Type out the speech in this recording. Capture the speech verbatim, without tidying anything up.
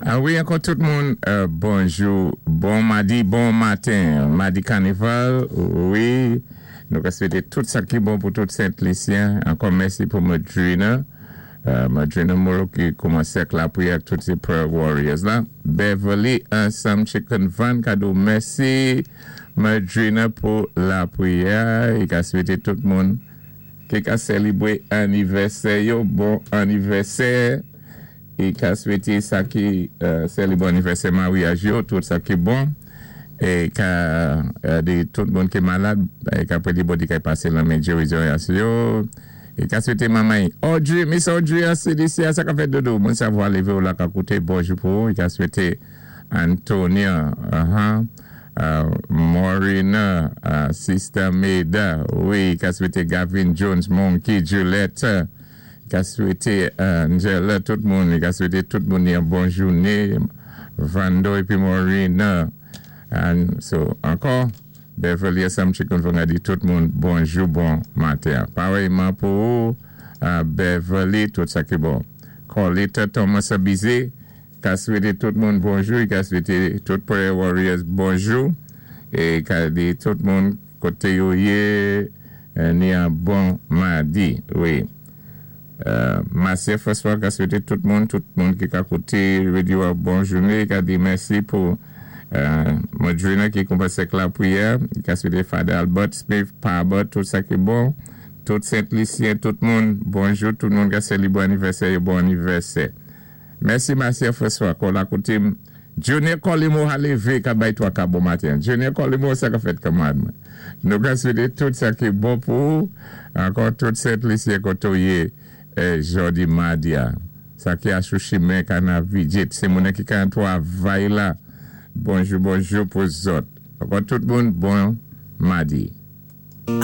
Ah wi, ankò tout moun, euh, bonjou, bon madi, bon maten, madi kanaval, wi, nou ka swété tout sa ki bon pou tout Sent Lisyen. Ankò mèsi pou Madrina, euh, Madrina Moreau ki koumansé ak lapriyè ak tout sé prayer warriors la. Beverly ansanm Chicken Van ka di mèsi Madrina pou lapriyè, i ka swété tout moun ki ka sélébwé anivèsè yo, bon anivèsè. I ka swété sa ki euh, sélébwé anivèsè maryaj yo, tout sa ki bon. É ka euh, di tout moun ki malad, é ka pwédé Bondyé ka pasé lanmen gérizon yo. É ka swété manman Audrey, Miss Audrey a C D C, sa ka fèt dodo. Mwen savwa lévé ou la ka kouté, bonjou pou ou. I ka swété Antonia, uh-huh, uh, Maureen, uh, Sister Maida, wi, ka swété Gavin Jones, Monkey, Juliette, ka swété Angela, tout moun, ka swété tout moun yon bon jouné, Vando épi Maureen, and so, ankò, Beverly Sam Chicken Van di tout moun bonjou, bon maten. Parèyman pou ou, uh, Beverly, tout sa ki bon. Colita Thomas Abizé, ka swété tout moun bonjou, ka swété tout prayer warriors bonjou, é ka di tout moun koté yo yé, ni yon bon madi, wi. Euh, Marcia François ka swété tout moun, tout moun ki ka kouté radyo a bon jouné, ka di mèsi pou euh, Madrina ki koumansé ak lapriyè, ka swété Father Albert Smith, Parbert, tout sa ki bon, tout Sent Lisyen, tout moun, bonjou, tout moun ka sélébwé anivèsè, bon anivèsè. Mèsi Marcia François, kon la kouté Junior Colimo a lévé ka bay twa ka bon maten. Junior Colimo, sa ka fèt kanmad mwen. Nou ka swété tout sa ki bon pou, ankò tout Sent Lisyen koto yé, eh, jòdi madi a. Sa ki a sou chimen ka nan vizit. Sé moun ki ka twavay la. Bonjou, bonjou pou zòt. Ankò tout moun, bon madi.